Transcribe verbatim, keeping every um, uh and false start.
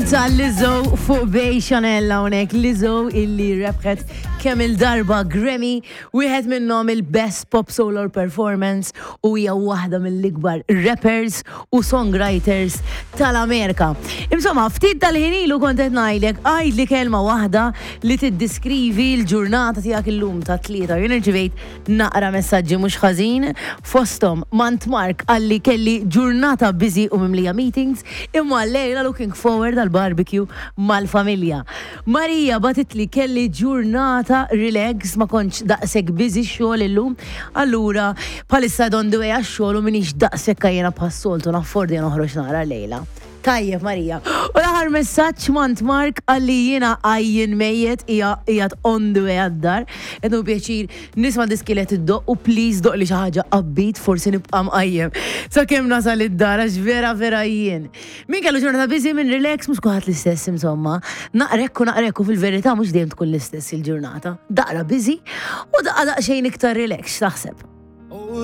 Ta' Lizzo fuq Bay Chanel hawnhekk. Lizzo illi rebħet kemm il-darba Grammy, wieħed minnhom il-Best Pop Solo Performance, u hija waħda mill-ikbar rappers u songwriters tal-Amerika. Insomma, ftit tal-ħin ilu kont qed ngħidlek, għidli kelma waħda li tiddiskrivi l-ġurnata tiegħek illum ta' Tlieta. Jien irċivejt naqra messaġġi mhux ħażin, fosthom Mant Mark qalli, "Kelli ġurnata busy u mimlija meetings, imma lejla looking forward għal barbecue mal-familja." Marija bagħtitli, "Kelli ġurnata relax, ma kontx daqshekk busy xogħol illum, allura bħalissa on the way għax-xogħol u m'iniex daqshekk għajjena bħas-soltu, naffordi noħroġ nara lejla." Tajjeb, Marija. U l-aħħar messaġġ mant Mark qalli, "Jiena għajjien mejjet, qiegħed on the way għad-dar. Qed pjaċir nisma' diski li iddoqq u please doqqli xi ħaġa upbeat, forsi nibqa' mqajjem sakemm nasal id-dar għax vera vera jien." Min kellu ġurnata busy, min relax, mhux kulħadd l-istess insomma. Naqrekku naqrekku fil-verità mhux dejjem tkun l-istess il-ġurnata. Daqra busy u daqqa daqsxejn iktar relax, taħseb.